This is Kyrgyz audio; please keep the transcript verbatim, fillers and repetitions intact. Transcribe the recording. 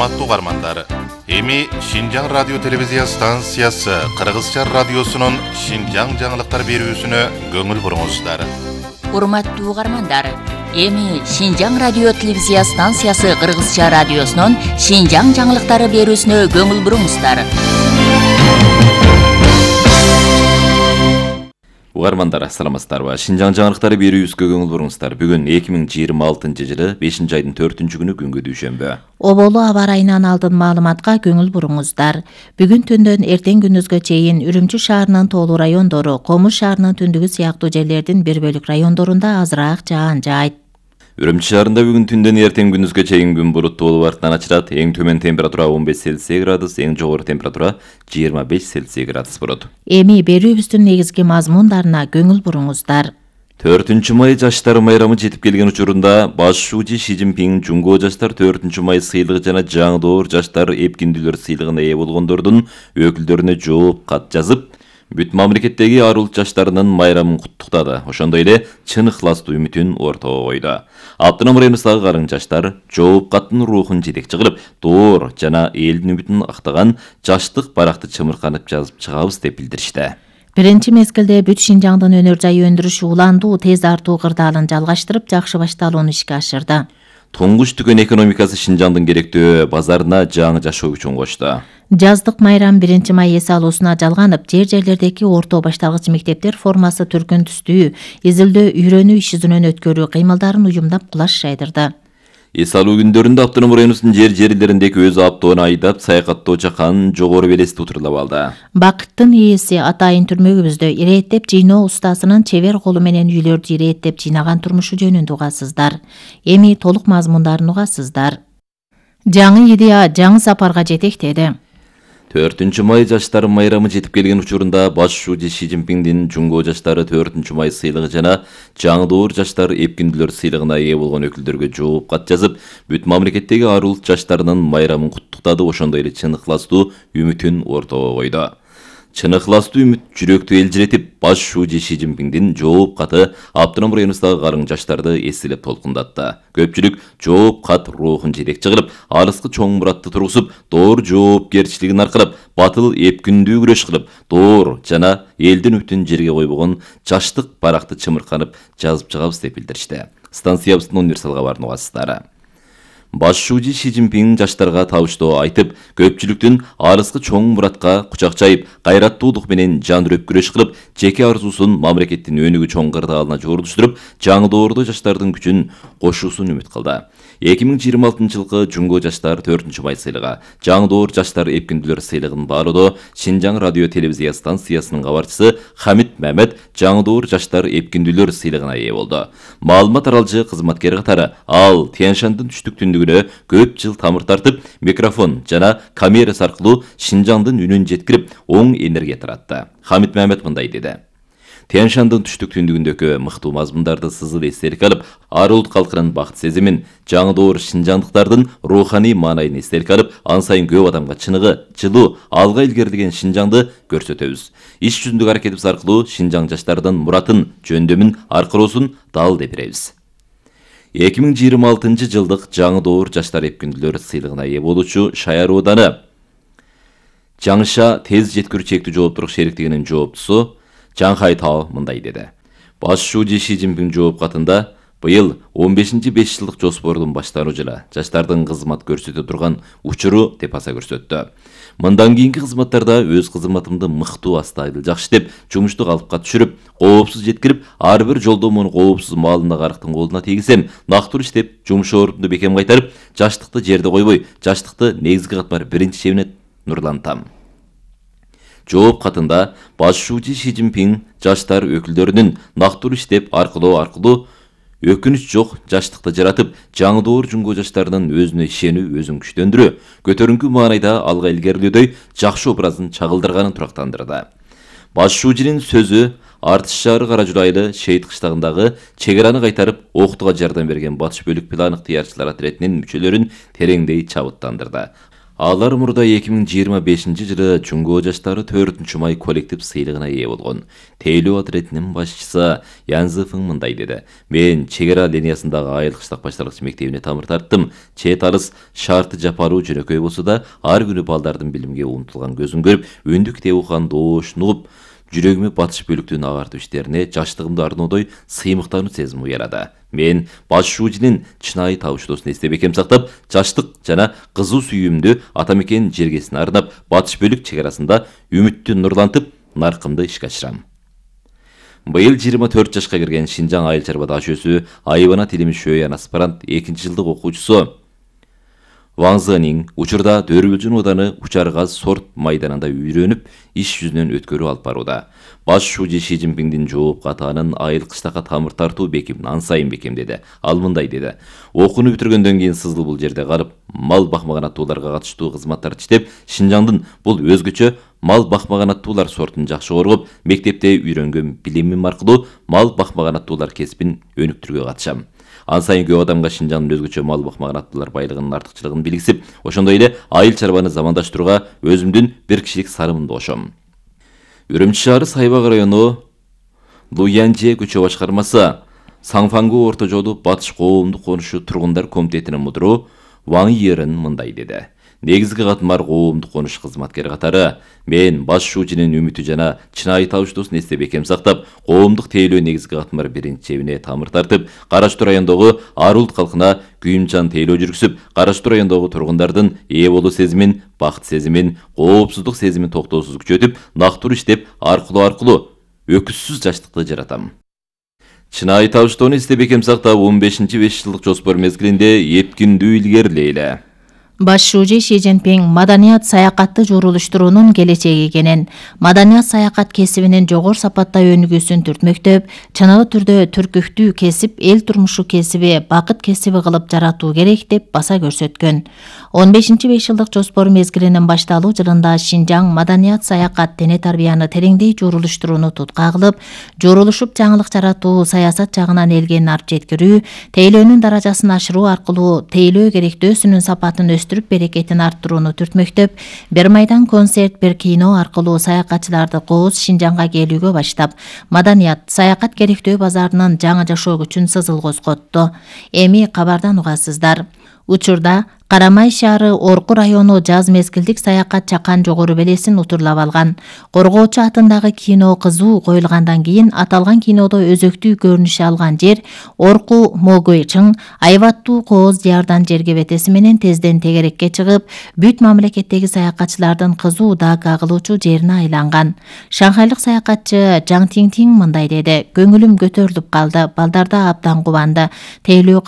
урматтуу угармандар, эми Шинжаң радио телевизия станциясы Кыргызча радиосунун Шинжаң жаңылыктар берүүсүнө көңүл буруңуздар. Урматтуу угармандар, эми Шинжаң радио телевизия станциясы Кыргызча радиосунун Шинжаң жаңылыктары берүүсүнө көңүл буруңуздар. Угармандар, саламатсыздарбы? Шинжаң жаңылыктары берүүсүнө көңүл буруңуздар. Бүгүн эки миң жыйырма алтынчы жылы бешинчи айдын төртүнчү күнү күнгө дүйшөмбү. Оболу аба ырайынан алдын маалыматка көңүл буруңуздар. Бүгүн түндөн эртең күндүзгө чейин Үрүмчү шаарынын тоолуу райондору, Комуш шаарынын түндүгү сыяктуу жерлердин бир бөлүк райондорунда азыраак жаан жаайт. Үрүмчү шаарында бүгүн түндөн эртең күндүзгө чейин күн булуттуу болуп артынан ачылат. Эң төмөн температура он беш Цельсий градус, эң жогору температура жыйырма беш Цельсий градус болот. Эми берүүбүздүн негизги мазмундарына көңүл буруңуздар. төртүнчү май жаштар майрамы жетип келген учурунда баш шуучу Ши Цзиньпин Жумго жаштар төртүнчү май сыйлыгы жана жаңы доор жаштар эпкиндүүлөр сыйлыгына ээ болгондордун өкүлдөрүнө жооп кат жазып, бүт мамлекеттеги ар улут жаштарынын майрамын куттуктады. Ошондой эле чын ыхластуу үмүтүн ортого койду. Автоном районундагы карың жаштар жооп каттын рухун жетекчи кылып, доор жана элдин үмүтүн актаган жаштык баракты чымырканып жазып чыгабыз деп билдиришти. Биринчи мезгилде бүт Шинжаңдын өнөр жай өндүрүш уландуу тез артуу кырдаалын жалгаштырып, жакшы башталууну ишке ашырды. Туңгуч түгөн экономикасы Шинжаңдын керектөө базарына жаңы жашоо үчүн кочту. Жаздык майрам биринчи май эс алуусуна жалганып, жер-жерлердеги орто башталгыч мектептер формасы түркүн түстүү, изилдөө, үйрөнүү иш-жүзүнөн өткөрүү кыймылдарын уюмдап кулаш жайдырды. Эс алуу күндөрүндө автоном районунун жер-жерлериндеки өз автоону айдап саякаттоочу кан жогору белести утурлап алды. Бакыттын ээси атайын түрмөгүбүздө ирээттеп жыйноо устасынын чебер колу менен үйлөрдү ирээттеп жыйнаган турмушу жөнүндө угасыздар. Эми толук мазмундарын угасыздар. Жаңы идея жаңы сапарга жетектеди. төртүнчү май жаштар майрамы жетип келген учурунда баш шуучу Ши Цзиньпиндин Жумго жаштары төртүнчү май сыйлыгы жана жаңы доор жаштар эпкиндүүлөр сыйлыгына ээ болгон өкүлдөргө жооп кат жазып, бүт мамлекеттеги ар улут жаштарынын майрамын куттуктады. Ошондой эле чын ыхластуу үмүтүн ортого койду. Чын ыхластуу үмүт жүрөктү элжиретип, баш шуучу Ши Цзиньпиндин жооп каты автоном районундагы карың жаштарды эселеп толкундатты. Көпчүлүк жооп кат рухун жетекчи кылып, алыскы чоң muratты тургузуп, доор жоопкерчилигин аркылап, батыл эпкиндүү күрөш кылып, доор жана элдин үмүтүн жерге койбогон жаштык баракты чымырканып жазып чыгабыз деп билдиришти. Станциябыздын универсал кабарын угасыздар. Баш шуучу Ши Цзиньпин жаштарга табыштоо айтып, көпчүлүктүн алыскы чоң muratка кучак жайып, кайраттуулук менен жан үрөп күрөш кылып, жеке арзуусун мамлекеттин өнүгүү чоң кырдаалына жорулуштуруп, жаңы доордо жаштардын күчүн кошуусун үмүт кылды. эки миң жыйырма алтынчы жылкы Жумго жаштар төртүнчү май сыйлыгы, жаңы доор жаштар эпкиндүүлөр сыйлыгын баалоодо Шинжаң радио телевизия станциясынын кабарчысы Хамит Мамет жаңы доор жаштар эпкиндүүлөр сыйлыгына ээ болду. Маалымат аралжы кызматкер катары ал Тянь-Шандын түштүк түндүгүнө көп жыл тамыр тартып, микрофон жана камерасы аркылуу Шинжаңдын үнүн жеткирип, оң энергия таратты. Хамит Мамет мындай деди: Тянь-Шандын түштүк түндүгүндөгү мыктуу мазмундарды сызыл эстелик алып, ар улут калкынын бакыт сезимин, жаңы доор шинжаңдыктардын руханий маанайын эстелик алып, ан сайын көп адамга чыныгы, жылуу, алга илгерилген Шинжаңды көрсөтөбүз. Иш жүзүндөгү аракетибиз аркылуу Шинжаң жаштардын муратын, жөндөмүн аркыроосун далилдей беребиз. эки миң жыйырма алтынчы жылдык жаңы доор жаштар эпкиндүүлөр сыйлыгына ээ болуучу Шаяр ооданы Жаңша тез жеткирүү чектүү жооптуулук шериктигинин жооптусу Жаңхай Тао мындай деди: Баш шуучу Ши Цзиньпин жооп катында быйыл он бешинчи беш жылдык жоспордун башталуу жылы жаштардын кызмат көрсөтө турган учуру деп аса көрсөттү. Мындан кийинки кызматтарда өз кызматымды мыктуу астайдыл жакшы деп, жумушту калыпка түшүрүп, коопсуз жеткирип, ар бир жолдомону коопсуз маалында карыктын колуна тийгизсем, нактуу иштеп, жумуш ордумду бекем кайтарып, жаштыкты жерде койбой, жаштыкты негизги катмар биринчи чебине нурлантам. Жооп катында баш шуучу Ши Цзиньпин жаштар өкүлдөрүнүн нактуу иштеп, аркылуу аркылуу өкүнүч жок жаштыкты жаратып, жаңы доор Жумго жаштарынын өзүнө ишенүү, өзүн күчтөндүрүү, көтөрүңкү маанайда алга илгерилөөдөй жакшы образын чагылдырганын турактандырды. Баш шуучунун сөзү Артыш шаары Каражулайлы Шейит кыштагындагы чегераны кайтарып, окутууга жардам берген батыш бөлүк план ыктыярчылар отретинин мүчөлөрүн тереңдей чабыттандырды. Алар мурда эки миң жыйырма бешинчи жылы Жуңго жаштары төртүнчү май коллектив сыйлыгына ээ болгон. Тейлөө отрядынын башчысы Янзы Фың мындай деди: "Мен чек ара линиясындагы айыл кыштак башталгыч мектебине тамыр тарттым. Чет алыс шарты жапаруу жөнөкөй болсо да, ар күнү балдардын билимге умтулган көзүн көрүп, үндү китеп окуган добушун угуп, жүрөгүмө батыш бөлүктүн агартуу иштерине жаштыгымды арноодой сыймыктануу сезими уярады. Мен баш шуужинин чынайы табыштоосун эстеп экем сактап, жаштык жана кызуу сүйүүмдү ата мекен жергесине арнап, батыш бөлүк чек арасында үмүттү нурлантып, наркымды ишке ашырам." Быйыл жыйырма төрт жашка кирген Шинжаң айыл чарба даш өсү Айбана Тилимиш Шөйян аспирант экинчи жылдык окуучусу Ваң Зының учурда Дөрүлжүн ооданы Учар газ сорт майданында үйрөнүп, иш жүзүнөн өткөрүү алып барууда. Баш шуужи Ши Цзиньпиңдин жооп катаанын айыл кыштакка тамыр тартуу беким ан сайын бекемдеди. Ал мындай деди: "Окууну бүтүргөндөн кийин сызыл бул жерде калып, мал бакмаган аттууларга катыштуу кызматтарды иштеп, Шинжаңдын бул өзгөчө мал бакмаган аттуулар сортун жакшы коргоп, мектепте үйрөнгөн билимим аркылуу мал бакмаган аттуулар кесибин өнүктүрүүгө катышам. Ан сайын көп адамга Шинжаңдын өзгөчө мал бакмаган аттуулар байлыгынын артыкчылыгын билгизип, ошондой эле айыл чарбаны замандаштырууга өзүмдүн бир кишилик сарымымды кошом." Үрүмчү шаары Сайбак району Луянже көчө башкармасы Саңфангу орто жолу батыш коомдук конушу тургундар комитетинин мудуру Ваң Йерен мындай деди: "Негизги катмар коомдук конуш кызматкери катары мен баш шуужинин үмүтү жана чынайы табыштоосун эстеп экем сактап, коомдук тейлөө негизги катмар биринчи чебине тамыр тартып, Караштуу райондогу ар улут калкына күйүмчан тейлөө жүргүзүп, Караштуу райондогу тургундардын ээ болуу сезимин, бакыт сезимин, коопсуздук сезимин токтоосуз күчөтүп, нактур иштеп, аркылуу аркылуу өкүзсүз жаштыкты жаратам. Чынайы табыштоону эстеп экем сактап, он бешинчи беш жылдык жоспор мезгилинде эпкиндүү илгерилейле." Баш шуужи Ши Цзиньпиң маданият саякатты журулуштуруунун келечеги экенин, маданият саякат кесибинин жогору сапатта өнүгүүсүн түртмөктөп, чыныгы түрдө түркүктүү кесип, эл турмушу кесиби, бакыт кесиби кылып жаратуу керек деп баса көрсөткөн. он бешинчи беш жылдык жоспор мезгилинин башталуу жылында Шинжаң маданият саякат дене тарбияны тереңдей журулуштурууну тутка кылып, журулушуп жаңылык жаратуу, саясат жагынан элге арт жеткирүү, тейлөөнүн даражасын ашыруу аркылуу тейлөө керектөөсүнүн сапатын өстүрүп берекетин арттырууну түртмөктөп, бир майдан концерт, бир кино аркылуу саякатчыларды кооз Шинжаңга келүүгө баштап, маданият саякат керектөө базарынын жаңы жашоо күчүн сызыл козготту. Эми кабардан угасыздар. Учурда Карамай шаары Орку району жаз мезгилдик саякат чакан жогору белесин утурлап алган. Коргоочу атындагы кино кызуу коюлгандан кийин аталган кинодо өзөктүү көрүнүш алган жер Орку Могойчың айбаттуу кооз диярдан жерге бетеси менен тезден тегерекке чыгып, бүт мамлекеттеги саякатчылардын кызуу даага кылуучу жерине айланган. Шанхайлык саякатчы Жаң Тиң Тиң мындай деди: "Көңүлүм көтөрүлүп калды, балдарда абдан кубанды. Тейлөө